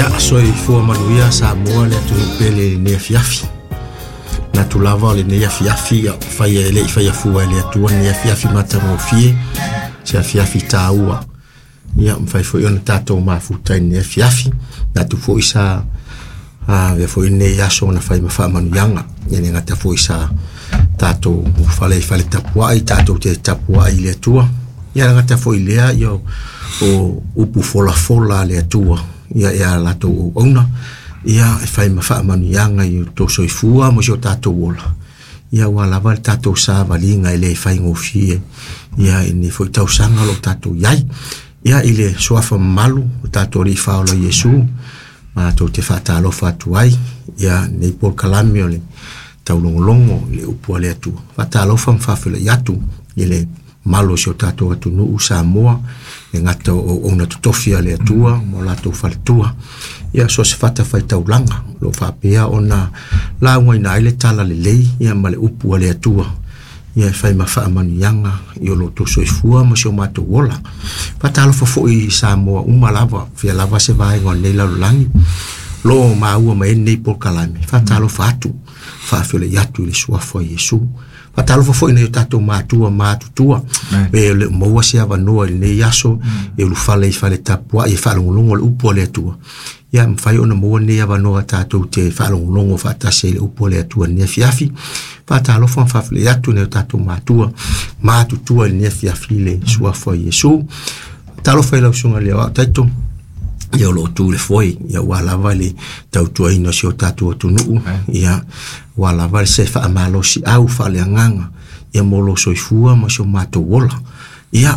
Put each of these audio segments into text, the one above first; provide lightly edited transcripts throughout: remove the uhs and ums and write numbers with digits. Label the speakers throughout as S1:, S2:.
S1: Ia, soifua manuia Samoa le atunuu pele i lenei afiafi. Manatu lava o lenei afiafi, ia, faia e le i faia fua e le Atua lenei afiafi matagofie, se afiafi taua. Ia, mafai foi ona tatou mafuta i lenei afiafi. Manatu foi sa avea foi lenei aso ona fai ma faamanuiaga. E le gata foi sa tatou fale i fale tapuai, tatou te tapuai i le Atua. Ia le gata foi lea, ia, o upu folafola a le Atua, ia, e a latou auauna, ia, e fai ma faamanuiaga i o outou soifua ma si o tatou ola. Ia, aua lava le tatou savaliga e le faigofie, ia, i lenei foi tausaga o lo o tatou i ai. Ia, i le suafa mamalu o tatou Alii Faaola Iesu, matou te faatalofa atu ai, ia, lenei polokalame o le taulogologo i le upu a le Atua. Faatalofa ma faafeiloai atu i le mamalu o si o tatou atunuu Samoa, le gata o auauna totofi a le Atua ma o latou faletua, ia, so o se fatafaitaulaga o lo o faapea ona laugaina ai le talalelei, ia, ma le upu a le Atua, ia, e fai ma faamanuiaga i o lo outou soifua ma si o matou ola. Faatalofa foi i Samoa uma lava, fia lava se vaega o lenei lalolagi lo o maua mai ai lenei polokalame. Faatalofa atu, faafeiloai atu i le suafa o Iesu. Faatalofa foi i nai o tatou matua matutua, e le o maua se avanoa i lenei aso, e ulufale i fale tapuai e faalogologo le upu a le Atua. Ia, mafai ona maua lenei avanoa tatou te faalogologo faatasi ai le upu a le Atua i lenei afiafi. Faatalofa ma faafeiloai atu i nai o tatou matua matutua i lenei afiafi i le suafa o Iesu. Faatalofa i lau susuga i le Aoao Taito, ia, o lo o tu le foe, ia, ua lava le tautuaina o si o tatou atunuu, ia, ua lava se faamalosiau faaleagaga, ia, mo lo soifua ma si o matou ola. Ia,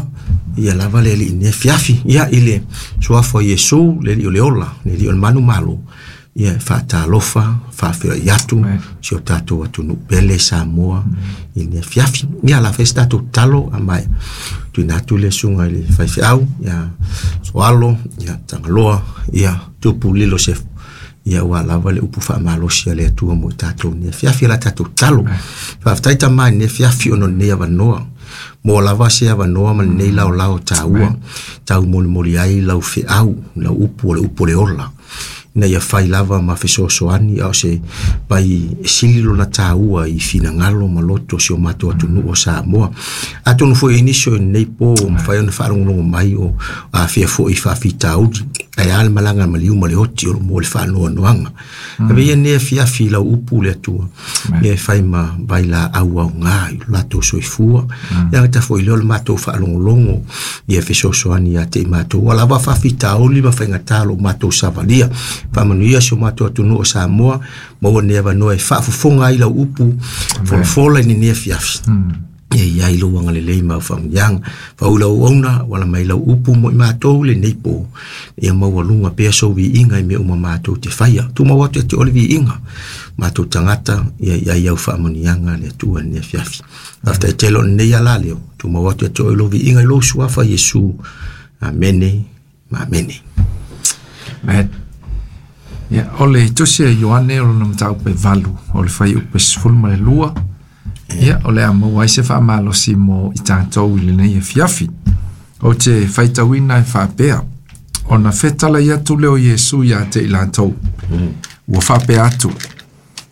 S1: ia lava le Alii i lenei afiafi, ia, i le suafa o Iesu, le Alii o le ola, le Alii o le manumalo, ia, faatalofa, faafeiloai atu si o tatou atunuu pele Samoa i lenei afiafi. Ia, la fai se tatou tatalo a mai tuuina atu le susuga i le faifeau, ia, Soalo, ia, Tagaloa, ia, Tupu Lilo Sefo, ia, ua lava le upu faamalosi a le Atua mo i tatou i lenei afiafi. La tatou tatalo. Faafetai Tama i lenei afiafi ona o lenei avanoa. Mo lava se avanoa ma lenei laolao taua, tau molimoli ai lau feau, lau upu o le upu o le ola, ina ia fai lava ma fesoasoani, a o se vai e sili lona taua i finagalo ma loto o si o matou atunuu o Samoa. Atonu foi e nisi o lenei po o mafai ona faalogologo mai o afea foi i faafitauli, ae a le malaga maliu ma le oti o lo mo le faanoanoaga. Ave ia lenei afiafi i lau upu le Atua, ia e fai ma vailaau aoga i lo latou soifua. Ia gata foi lea o le matou faalogologo, ia fesoasoani ia te i matou. Ua lava faafitauli ma faigata lo matou savalia. Faamanuia si o matou atunuu o Samoa, maua lenei avanoa e faafofoga ai lau upu, folafola i lenei afiafi. Ia i ai lou agalelei ma au faamanuiaga. Fau lau auauna, wala mai lau upu mo i matou lenei po. Ia maualuga pea sou viiga i mea uma matou te faia. Tumau atu e te o le viiga. Matou tagata, ia i ai au faamanuiaga le Atua i lenei afiafi. Faafetai tele o lenei ala leo. Tumau atu e te o i lou viiga i lou suafa Iesu. Amene, ma amene.
S2: Amen. Ia, o le tusi a Ioane o lona mataupu e 8, o le fuaiupu e 12, ia, o le a maua ai se faamalosi mo i tatou i lenei afiafi. Ou te faitauina e faapea, ona fetalai atu lea o Iesu ia te i latou. Ua faapea atu,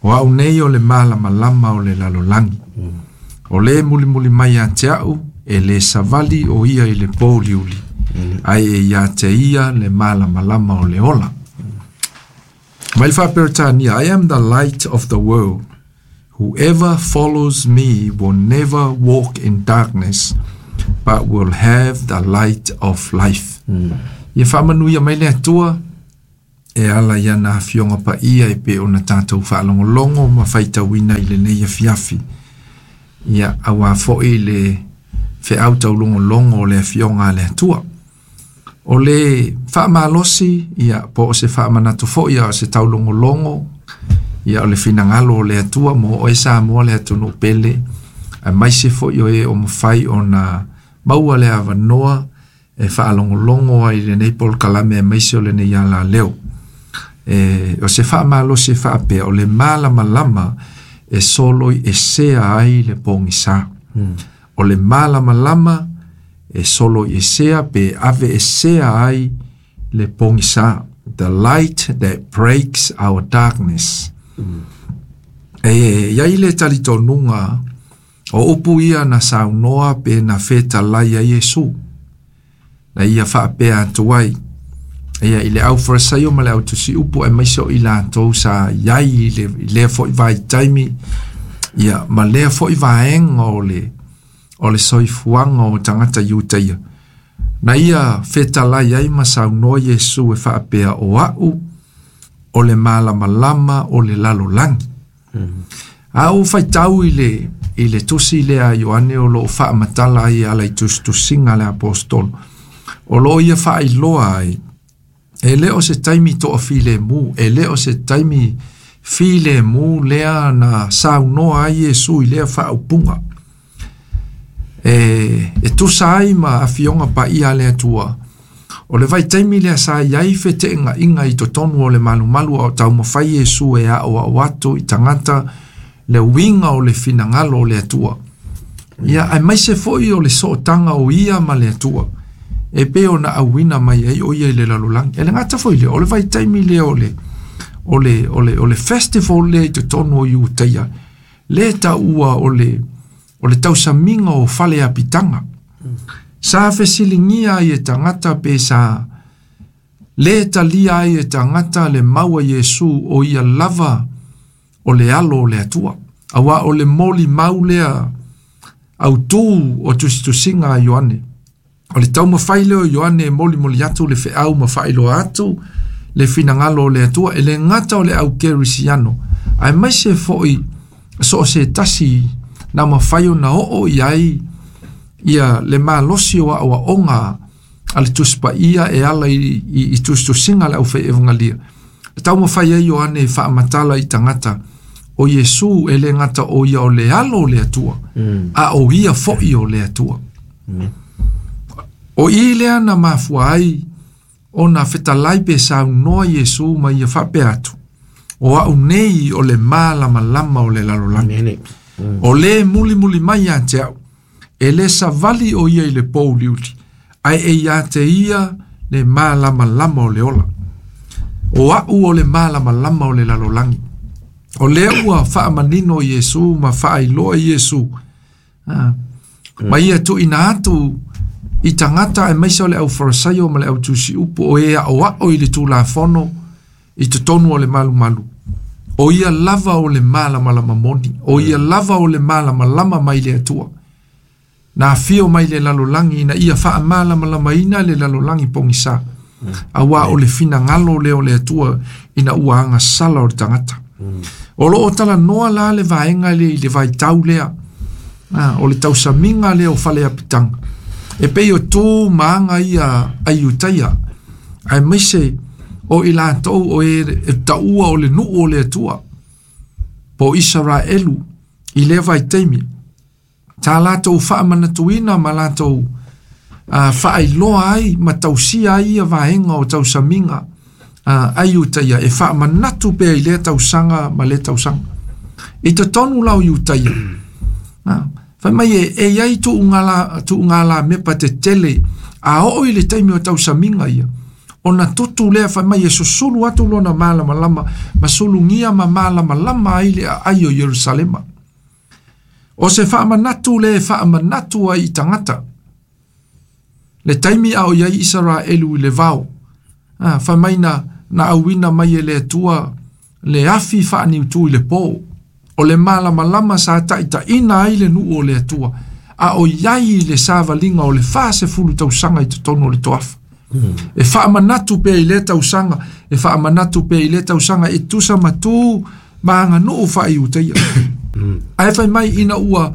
S2: o au nei o le malamalama o le lalolagi. O le mulimuli mai ia te au, e le savali o ia i le pōuliuli, ai e ia te ia le malamalama o le ola. Mai le faa-Peretania, I am the light of the world. Whoever follows me will never walk in darkness, but will have the light of life. Ia faamanuia mai le Atua e ala i ana afioga paia e pei ona tatou faalogologo ma faitauina i lenei afiafi. Ia, auā foi le feau taulogologo o le afioga a le Atua. O le faamalosi, ia, po o se faamanatu foi, ia, o se taulogologo, ia, o le finagalo o le Atua mo oe Samoa le atunuu pele, aemaise foi o e o mafai ona maua le avanoa e faalogologo ai i lenei polokalame aemaise o lenei alaleo. E, o se faamalosi e faapea, o le malamalama e soloi esea ai le pogisa. O le malamalama e soloi esea pe ave esea ai le pogisa. the light that breaks our darkness. E iai le talitonuga o upu ia na saunoa pe na fetalai ai Iesu. Na ia faapea atu ai. Ia i le au Farisaio ma le au tusiupu aemaise o i latou sa iai i lea foi vaitaimi, ia ma lea foi vaega o le soifuaga o tagata Iutaia. Na ia fetalai ai ma saunoa Iesu e faapea o a'u o le malamalama o le lalolagi. A ou faitau i le tusi lea a Ioane o loo faamatala ai e ala i tusitusiga a le apostolo, o loo ia faailoa ai, e le o se taimi toafilemu, e le o se taimi filemu lea na saunoa ai Iesu i lea faaupuga. E tusa ai ma afioga paia a le Atua, o le vaitaimi lea sa iai feteegaiga i totonu o le malumalu a o taumafai Iesu e aoao atu i tagata le uiga o le finagalo o le Atua. Ia aemaise foi o le sootaga o ia ma le Atua, e pei ona auina mai ai o ia i le lalolagi. E le gata foi lea, o le vaitaimi lea o le festival lea i totonu o Iutaia, le taua o le tausamiga o fale apitaga. Sa fesiligia ai e tagata pe sa le talia ai e tagata le mau a Iesu o ia lava o le alo o le Atua. Auā o le moli mau lea autū o tusitusiga a Ioane. O le taumafai lea o Ioane e molimoli atu le feau ma faailoa atu le finagalo o le Atua, e le gata o le au kerisiano, aemaise foi so o se tasi na mafai ona oo i ai ia le malosi o aoaoga a le Tusi Paia e ala i tusitusiga a le aufaievagalia. Le taumafai ai Ioane e faamatala i tagata o Iesu e le gata o ia o le alo o le Atua, a o ia foi o le Atua. O i lea na mafua ai ona fetalai pe saunoa Iesu ma ia faapea atu, o a'u nei o le malamalama o le lalolagi. O le mulimuli mai ia te a'u, e le savali o ia i le pouliuli, ae e ia te ia le malamalama o le ola. O a'u o le malamalama o le lalolagi. O lea ua faamanino Iesu ma faailoa Iesu. Ma ia tuuina atu i tagata aemaise o le au Farisaio ma le au tusiupu o e aoao i le Tulafono i totonu o le malumalu. O ia lava o le malamalama moni, o ia lava o le malamalama mai le Atua. Na afio mai le lalolagi ina ia faamalamalamaina le lalolagi pogisa. Auā o le finagalo lea o le Atua ina ua agasala o le tagata. O loo talanoa la le vaega lea i le vaitau lea, o le tausamiga lea o fale apitaga. E pei o tū ma aga ia a Iutaia, aemaise o i latou o e taua o le nuu o le Atua, po o Isaraelu i lea vaitaimi. Tā latou faamanatuina ma latou faailoa ai ma tausia ai ia vaega o tausamiga a Iutaia e faamanatu pea i lea tausaga ma lea tausaga. I totonu la o Iutaia, fai mai e iai tuugala mepa tetele a oo i le taimi o tausamiga ia, ona tutu lea fai mai e susulu atu lona malamalama ma sulugia ma malamalama ai le aai o Ierusalema. O se faamanatu le faamanatu ai i tagata. Le taimi a o iai Isaraelu i le vao, fai mai na auina mai e le Atua le afi faaniutu i le po. O le malamalama sa taitaina ai le nuu o le Atua, a o iai i le savaliga o le 40 tausaga i totonu o le toafa. E faamanatu pea i lea tausaga, e faamanatu pea i lea tausaga, e tusa matū ma aganuu faaiutaia. Ae fai mai ina ua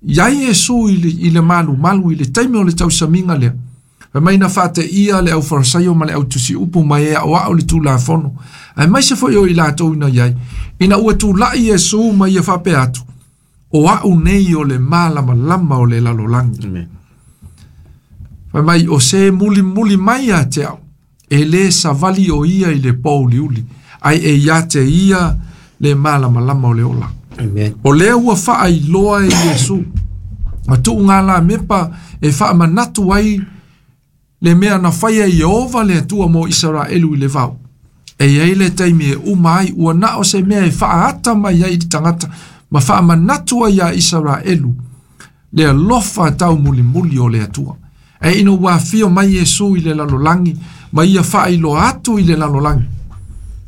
S2: iai Iesu i le malumalu i le taimi o le tausamiga lea. Fai mai na faateia le au Farisaio ma le au tusiupu ma e aoao le Tulafono, aemaise foi o i latou ina iai, ina ua tula'i Iesu ma ia faapea atu, o a'u nei o le malamalama o le lalolagi. Fai mai o se mulimuli mai ia te a'u, e lē savali o ia i le pouliuli, ae e ia te ia le malamalama o le ola. O lea ua faailoa e Iesu ma tuugala mepa e faamanatu ai le mea na faia e Ieova le Atua mo Isaraelu i le vao. E iai le taimi e uma ai, ua na o se mea e faaata mai ai i le tagata ma faamanatu ai iā Isaraelu le alofa taumulimuli o le Atua. Ae ina ua afio mai Iesu i le lalolagi ma ia faailoa atu i le lalolagi,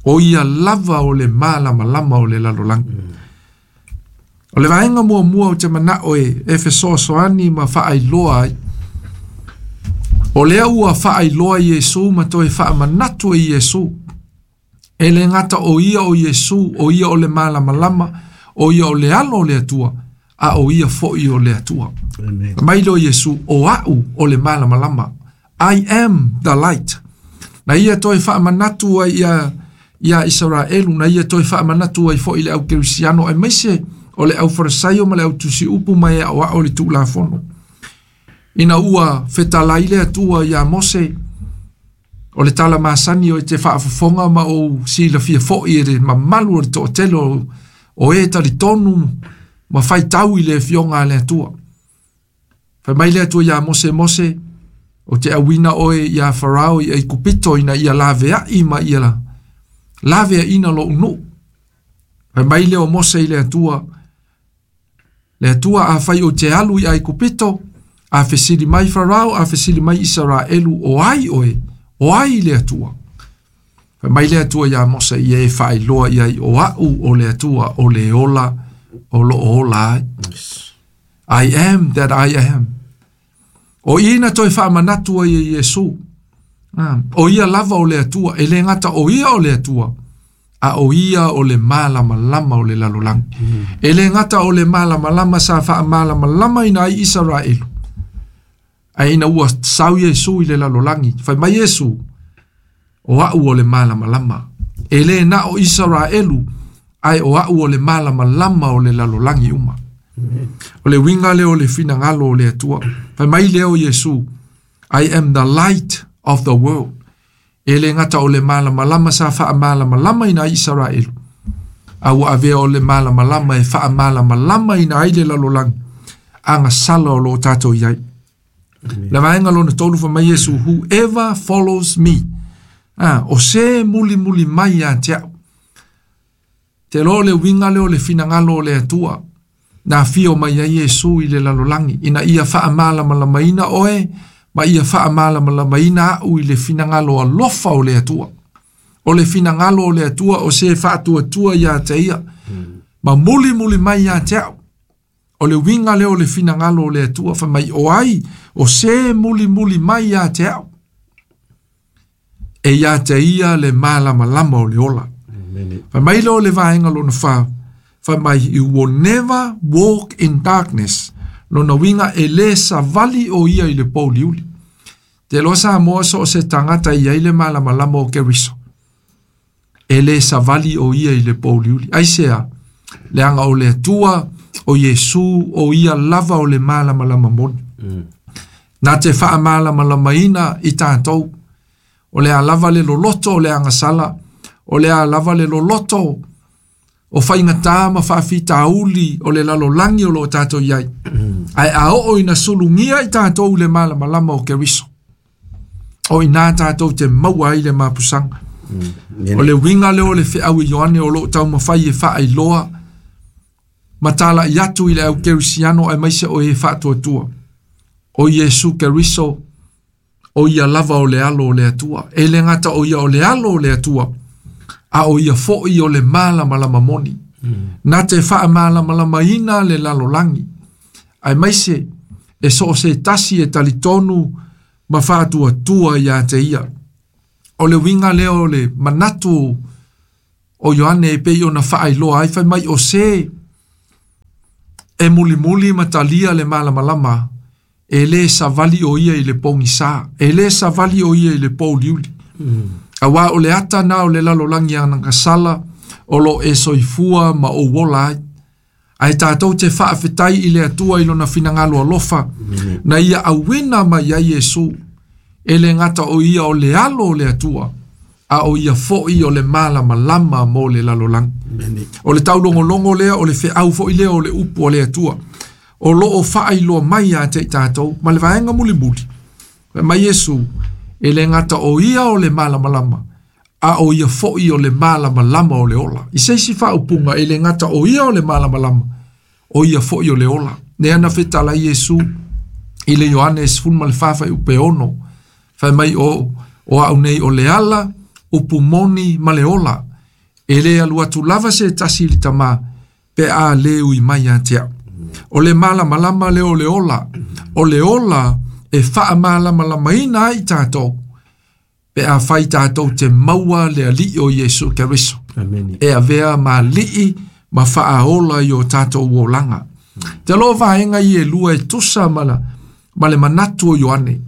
S2: o ia lava o le malamalama o le lalolagi. O le vaega muamua ou te manao e fesoasoani ma faailoa ai, o lea ua faailoa Iesu ma toe faamanatu e Iesu, e le gata o ia o Iesu, o ia o le malamalama, o ia o le alo o le Atua, a o ia foi o le Atua.
S1: Amen.
S2: Mai lea o Iesu, o a'u o le malamalama. I am the light. Na ia toe faamanatu ai ia iā Isaraelu, na ia toe faamanatu ai foi i le au Kerisiano, aemaise o le au Farisaio ma le au Tusiupu ma e aoao i le Tulafono. Ina ua fetalai le Atua iā Mose, o le tala masani o e te faafofoga ma ou silafia foi e le mamalu o le toatele o e talitonu ma faitau i le Afioga a le Atua. Fai mai le Atua iā Mose, Mose, ou te auina oe iā Farao i Aikupito ina ia laveai ma ia laveaina lou nuu. Fai mai lea o Mose i le Atua, Le Atua, afai ou te alu i Aikupito, a fesili mai Farao, a fesili mai Isaraelu, o ai oe? O ai le Atua? Fai mai le Atua iā Mose, ia e faailoa i ai, o a'u o le Atua, o le ola o lo o ola ai. I am that I am. O i na toe faamanatu ai e Iesu. O ia lava o le Atua, e le gata o ia o le Atua, a o ia o le malamalama o le lalolagi. E le gata o le malamalama sa faamalamalamaina ai Isaraelu, ae ina ua sau Iesu i le lalolagi, fai mai Iesu, o a'u o le malamalama. E le na o Isaraelu, ae o a'u o le malamalama o le lalolagi uma. O le uiga lea o le finagalo o le Atua. Fai mai lea o Iesu, I am the light of the world. E le gata o le malamalama sa faamalamalamaina ai Isaraelu, a ua avea o le malamalama e faamalamalamaina ai le lalolagi agasala o lo o tatou i ai. Le vaega lona tolu fai mai Iesu, whoever follows me, o se mulimuli mai ia te a'u. Te iloa o le uiga lea o le finagalo o le Atua, na afio mai ai Iesu i le lalolagi, ina ia faamalamalamaina oe ma ia faamalamalamaina a'u i le finagalo alofa o le Atua. O le finagalo o le Atua o se faatuatua ia te ia, ma mulimuli mai ia te a'u. O le uiga lea o le finagalo o le Atua, fai mai o ai o se mulimuli mai ia te a'u, e ia te ia le malamalama o le ola. Fai mai lea o le vaega lona fa, fai mai, you will never walk in darkness. Lona uiga e le savali o ia i le pouliuli. Te iloa Samoa so o se tagata e i ai le malamalama o Keriso, e le savali o ia i le pouliuli. Aisea? Leaga o le Atua, o Iesu, o ia lava o le malamalama moni. Na te faamalamalamaina i tatou, o le a lava le loloto o le agasala, o le a lava le loloto o faigata ma faafitauli o le lalolagi o lo o tatou i ai. Ae a oo ina sulugia i tatou i le malamalama o Keriso, o i ina tatou te maua ai le mapusaga. O le uiga lea o le feau i Ioane o lo o taumafai e faailoa ma tala'i atu i le au kerisiano aemaise o e faatuatua. O Iesu Keriso, o ia lava o le alo o le Atua. E le gata o ia o le alo o le Atua, a o ia foi o le malamalama moni. Na te faamalamalamaina le lalolagi, aemaise e so o se tasi e talitonu ma faatuatua ia te ia. O le uiga lea o le manatu o Ioane e pei ona faailoa ai, fai mai o se e mulimuli ma talia le malamalama, e le savali o ia i le pogisa, e le savali o ia i le pouliuli. Auā o le ata na o le lalolagi agasala o lo e soifua ma ou ola ai. Ae tatou te faafetai i le Atua i lona finagalo alofa, na ia auina mai ai Iesu, e le gata o ia o le alo o le Atua, a o ia foi o le malamalama mo le lalolagi. O le taulogologo lea, o le feau foi lea o le upu o le Atua, o lo o faailoa mai ia te i tatou, ma le vaega mulimuli. Fai mai Iesu, e le gata o ia o le malamalama, A o ia foʻi o le malamalama o le ola. I se isi faaupuga e le gata o ia o le malamalama, o ia foʻi o le ola. Lea na fetalai Iesu i le Ioane 14 fuaiupe 6, fai mai o au nei o le ala, upu moni ma le ola. E le alu atu lava se tasi i le Tamā pe a le ui mai ia te au. O le malamalama lea o le ola, o le ola e faamalamalamaina ai tatou pe a fai tatou te maua le alii o Iesu Keriso.
S1: Ameni.
S2: E avea ma alii ma faaola i o tatou olaga. Te loa vaega i e lua e tusa ma le manatu o Ioane,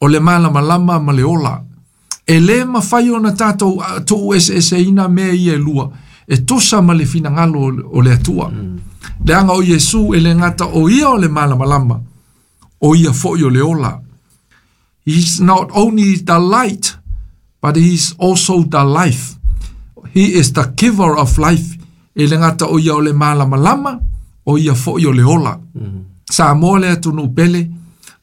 S2: o le malamalama ma le ola. E le mafai ona tatou tuu eseeseina mea ia e lua, e tusa ma le finagalo o le Atua. Leaga o Iesu e le gata o ia o le malamalama, o ia foʻi o le ola. He's not only the light, but he's also the life. He is the giver of life. E le gata o ia o le malamalama, o ia foʻi o le ola. Samoa le atunuu pele,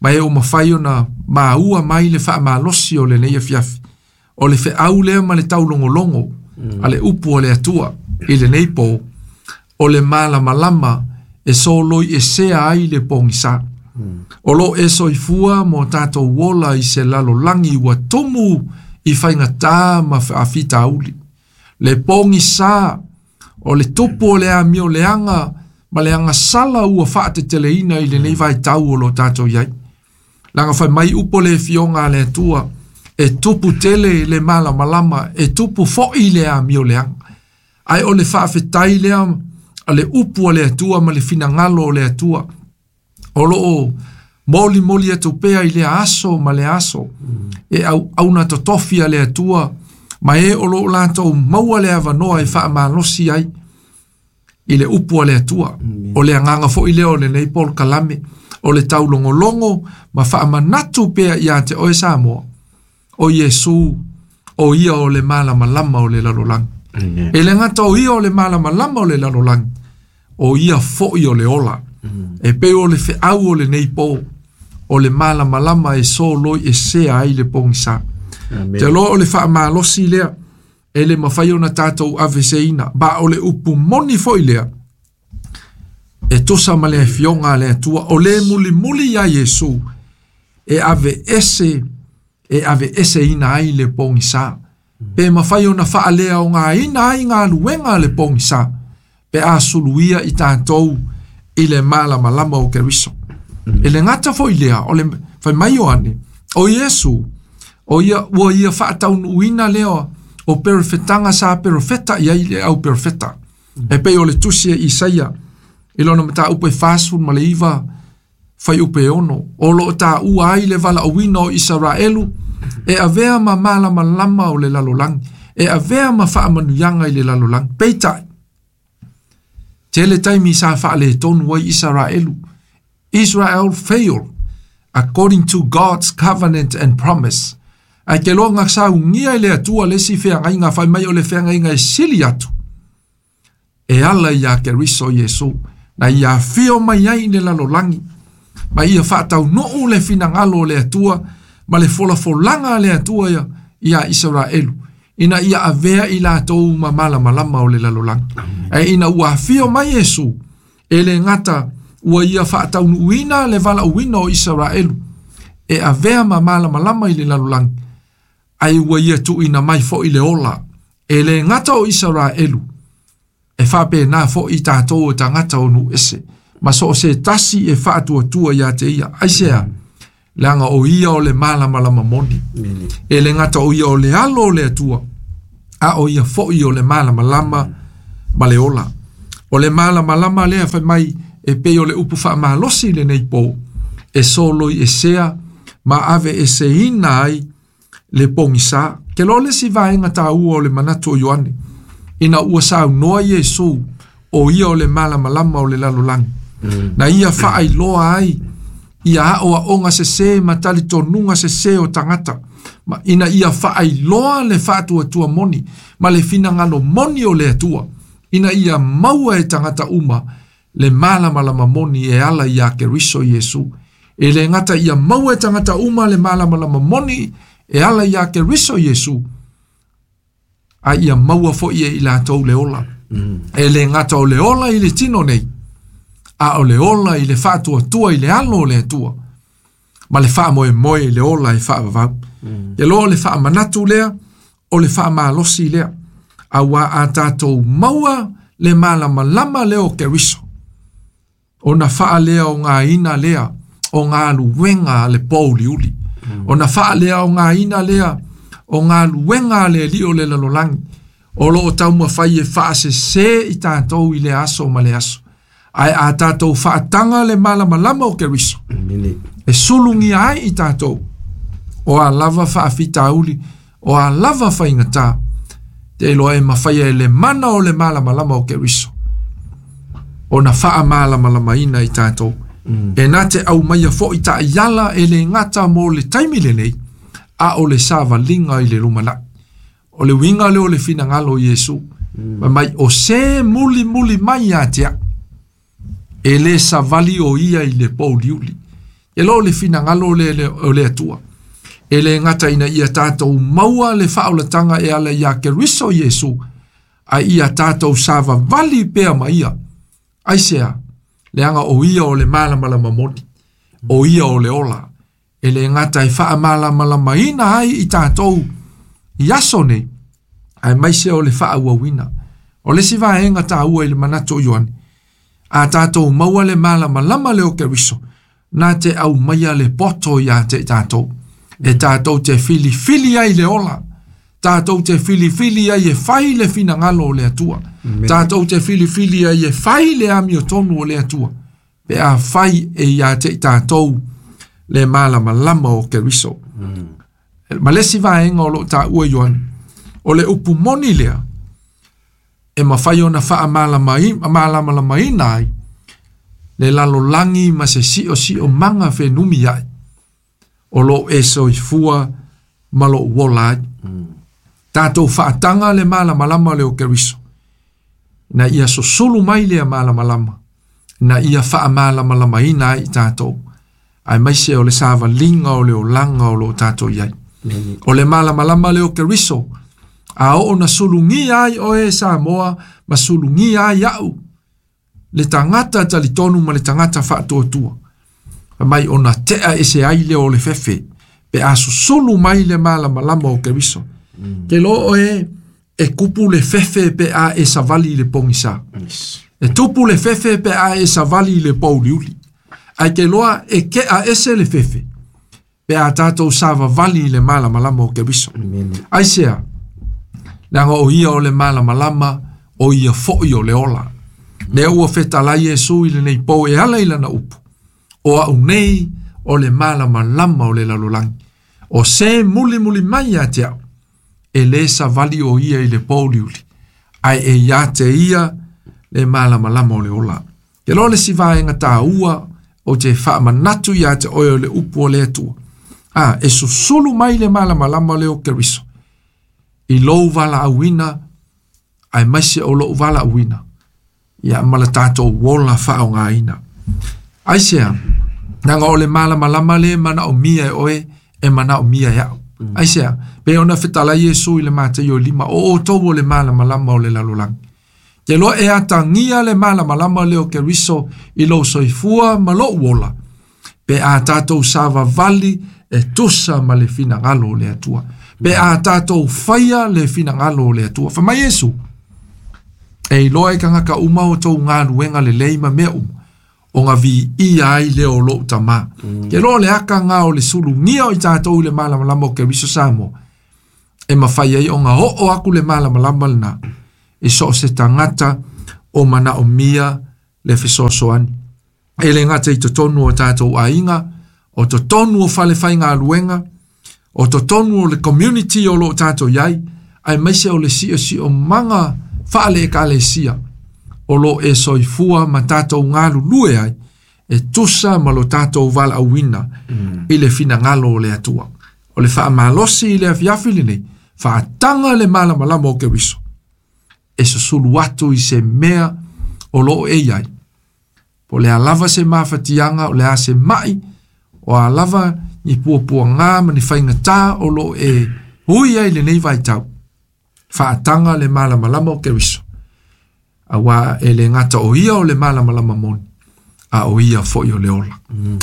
S2: ma e o mafai ona maua mai le faamalosi o lenei afiafi. O le feau lea ma le taulogologo a le upu o le Atua i lenei po, o le malamalama e soloi esea ai le pogisa. O lo e soifua mo tatou ola i se lalolagi ua tumu i faigatā ma faafitauli. Le pogisa o le tupu o le amio leaga ma le agasala ua faateteleina i lenei vaitau o lo tatou iai. Laga fai mai upu le fioga a le Atua, e tupu tele le malamalama, e tupu foʻi le amio leaga. Ae o le faafetai lea a le upu o le Atua ma le finagalo o le Atua, o loo moli moli atu pea i le aso ma le aso, e au auna totofi a le Atua, ma e o loo latou maua le avanoa e faamalosi ai i le upu a le Atua. O le agaga foʻi lea o lenei polokalame, o le taulogologo ma faamanatu pea ia te oe Samoa, o Iesu, o ia o le malamalama o le lalolagi. E le gata o ia o le malamalama o le lalolagi, o ia foʻi o le ola. E pei o le feau o lenei po, o le malamalama e soloi esea ai le pogisa. Te loa o le faamalosi lea, e le mafai ona tatou aveseina, ma o le upu moni foʻi lea, e tusa ma le afioga a le Atua, o le mulimuli ia Iesu, e ave eseina ai le pogisa. Pe mafai ona faaleaogaina ai galuega a le pogisa, pe a suluia i tatou i le malamalama o Keriso. E le gata foʻi lea, o le fai mai Ioane, o Iesu, o ia ua ia faataunuuina lea o perofetaga sa perofeta i ai le au perofeta. E pei o le tusi e Isaia, i lona mataupu e 49 fuaiupe 6, o loo taua ai le valaauina o Isaraelu, e avea ma malamalama o le lalolagi, e avea ma faamanuiaga i le lalolagi. Peitai, tele taimi sa faaletonu ai Isaraelu. Israel failed according to God's covenant and promise. Ae ke loa gasaugia i le Atua le isi feagaiga fai mai o le feagaiga e sili atu, e ala ia Keriso Iesu, na ia afio mai ai i le lalolagi, ma ia faataunuu le finagalo o le Atua, ma le folafolaga a le Atua ia Isaraelu, ina ia avea i latou ma malamalama o le lalolagi. Ae ina ua afio mai Iesu, e le gata ua ia faataunuuina le valaauina o Isaraelu, e avea ma malamalama i le lalolagi, ai ua ia tuuina mai foʻi le ola, e le gata o Isaraelu, e faapena foʻi tatou o tagata o nuu ese, ma so o se tasi e faatuatua ia te ia. Aisea, leaga o ia o le malamalama moni. E le gata o ia o le alo o le Atua, a o ia foʻi o le malamalama ma le ola. O le malamalama lea fai mai e pei o le upu faamalosi lenei po, e soloi esea ma ave eseina ai le pogisa. Ke loa le isi vaega taua o le manatu o Ioane, ina ua saunoa Iesu, o ia o le malamalama o le lalolagi. Na ia faailoa ai ia aoaoga sesē ma talitonuga sesē o tagata, ma ina ia faailoa le faatuatua moni ma le finagalo moni o le Atua, ina ia maua e tagata uma le malamalama moni e ala ia Keriso Iesu. E le gata ia maua e tagata uma le malamalama moni e ala ia Keriso Iesu, A ia maua fo'i e i latou le ola. E le gata o le ola i le tino nei, a o le ola i le faatuatua i le alo o le Atua, ma le faamoemoe i le ola e faavavau. Ia loa o le faamanatu lea, o le faamalosi lea, auā a tatou maua le malamalama lea o Keriso, ona faaleaogaina lea o galuega a le pouliuli, ona faaleaogaina lea o galuega a le alii o le lalolagi, o loo taumafai e faasesē i tatou i le aso ma le aso. Ae a tatou faataga le malamalama o Keriso, e sulugia ai i tatou, o a lava faafitauli, o a lava faigatā, te iloa e mafaia e le mana o le malamalama o Keriso, ona faamalamalamaina i tatou. E na te aumaia fo'i taiala e le gata mo le taimi lenei, a o le savaliga i le lumanai. O le uiga lea o le finagalo o Iesu, ma mai o se mulimuli mai ia te a'u, e lē savali o ia i le pouliuli. E loo le finagalo le o le Atua. E le gata ina ia tatou maua le faaolataga e ala iā Keriso Iesu, a ia tatou savavali pea ma ia. Aisea? Leaga o ia o le malamalama moni, o ia o le ola. E le gata e faamalamalamaina ai i tatou i aso nei, aemaise o le faaauauina. O le isi vaega taua i le manatu o Ioane, a tatou maua le malamalama lea o Keriso, na te aumaia le poto iā te i tatou, e tatou te filifili ai le ola, tatou te filifili ai e fai le finagalo o le Atua, tatou te filifili ai e fai le amiotonu o le Atua, pe a fai e iā te i tatou le malamalama o Keriso. Ma le isi vaega o loo taua e Ioane, o le upu moni lea, e mafai ona faamalamalamaina ai le lalolagi ma se siosiomaga fenumiai o loo e soifua ma lou ola ai. Tatou faataga le malamalama lea o Keriso, ina ia susulu mai lea malamalama, ina ia faamalamalamaina ai i tatou, aemaise o le savaliga o le olaga o loo tatou i ai. O le malamalama lea o Keriso, a oo na sulugia ai oe Samoa ma sulugia ai a'u, le tagata talitonu ma le tagata faatuatua, mai ona tea ese ai lea o le fefe, pe a susulu mai le malamalama o Keriso. Ke loa oe e kupu le fefe pe a e savali i le pogisā. E tupu le fefe pe a e savali i le pouliuli. Ae ke loa e kea ese le fefe, pe a tatou savavali i le malamalama o Keriso. Aisea? Leaga o ia o le malamalama, o ia fo'i o le ola. Lea ua fetalai Iesu i lenei pou e ala i lana upu, o a'u nei o le malamalama o le lalolagi. O se mulimuli mai ia te a'u, e lē savali o ia i le pouliuli, ae e iā te ia le malamalama o le ola. Ke loa le isi vaega taua ou te faamanatu iā te oe o le upu o le Atua. A, e susulu mai le malamalama lea o Keriso i lou valaauina, aemaise o lou valaauina, ia ma le tatou ola faaaogaina. Aisea? Leaga o le malamalama lea e manaomia e oe, e manaomia e a'u. Aisea? Pei ona fetalai Iesu i le Mataio 5, o outou o le malamalama o le lalolagi. Ke loa e atagia le malamalama lea o Keriso i lou soifua ma lou ola, pe a tatou savavali e tusa ma le finagalo o le Atua, pe a tatou faia le finagalo o le Atua. Fai mai Iesu, e iloa e tagata uma outou galuega lelei ma mea uma, ona viia ai lea o lou Tamā. Ke loa o le aka gā o le sulugia o i tatou i le malamalama o Keriso Samoa, e mafai ai ona oo aku le malamalama lenā i so o se tagata o manaomia le fesoasoani. E le gata i totonu o tatou aiga, o totonu o fale faigaluega, o totonu o le community o loo tatou i ai, aemaise o le siosiomaga faale-ekalesia o loo e soifua ma tatou galulue ai, e tusa ma lo tatou valaauina i le finagalo o le Atua. O le faamalosi i le afiafi lenei, faataga le malamalama o Keriso, e susulu atu i se mea o loo e i ai. Po o le a lava se mafatiaga, o le a se mai, o a lava ni puapuagā ma ni faigatā o loo e ui ai lenei vaitau. Faataga le malamalama o Keriso. Auā e le gata o ia o le malamalama moni, a o ia foi o le ola.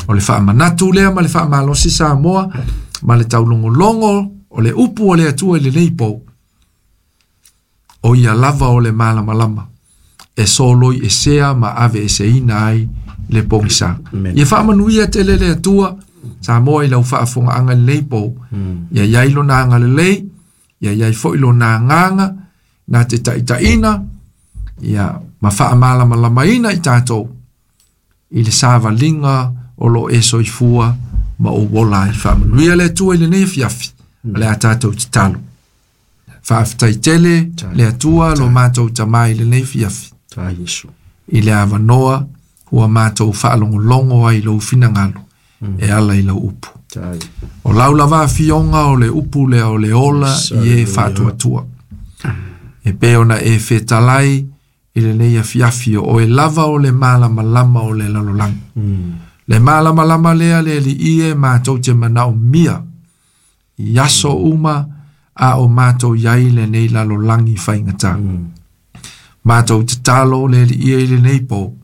S2: O le faamanatu lea ma le faamalosi Samoa ma le taulogologo o le upu o le Atua i lenei pou. O ia lava o le malamalama e soloi esea ma ave eseina ai le pogisa. Ia faamanuia tele le Atua Samoa i lau faafogaaga i lenei pou. Ia iai lona agalelei, ia iai foi lona agaga na te taitaiina ia ma faamalamalamaina i tatou i le savaliga o lo e soifua ma ou ola ai. Faamanuia le Atua i lenei afiafi, o le a tatou tatalo. Faafetai tele le Atua lo matou Tamā i lenei afiafi. I le avanoa ua matou faalogologo ai i lou finagalo e ala i lau upu. O lau lava afioga o le upu lea o le ola i e faatuatua. E pei ona e fetalai i lenei afiafi o oe lava o le malamalama o le lalolagi. Le malamalama lea le Alii e matou te manaomia i aso uma a o matou i ai i lenei lalolagi faigata. Matou tatalo le Alii e i lenei po,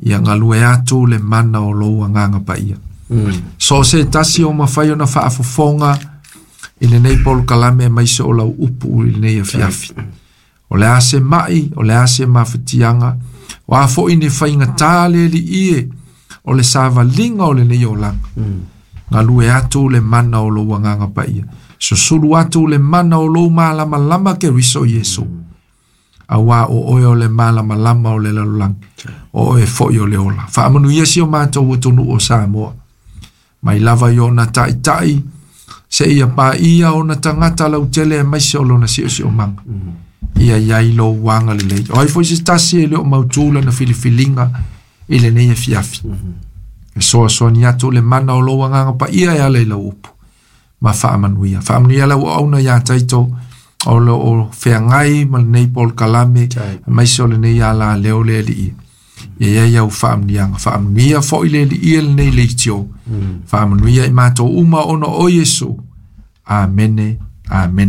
S2: ia galue atu le mana o lou agaga paia. So o se tasi o mafai ona faafofoga i lenei polokalame aemaise o lau upu i lenei afiafi. O le a se mai, o le a se mafatiaga, o a foi ni faigata le Alii e, o le savaliga o lenei olaga. Galue atu le mana o lou agaga paia. Susulu atu le mana o lou malamalama Keriso Iesu. Auā o oe o le malamalama o le lalolagi, o oe foi o le ola. Faamanuia si o matou atunuu o Samoa. Mai lava i ona taitai, seia paia ona tagata lautele aemaise o lona siosiomaga. Ia i ai lou agalelei. O ai foi se tasi e le o mautu lana filifiliga i lenei afiafi. E soasoani atu le mana o lou agaga paia e ala i lau upu ma faamanuia. Faamanuia lau auauna ia Taito o lo o feagai ma lenei polokalame aemaise o lenei alaleo le Alii. Ia i ai au faamanuiaga. Faamanuia foi le Alii lenei leitio. Faamanuia i matou uma ona o Iesu. Amene, amene.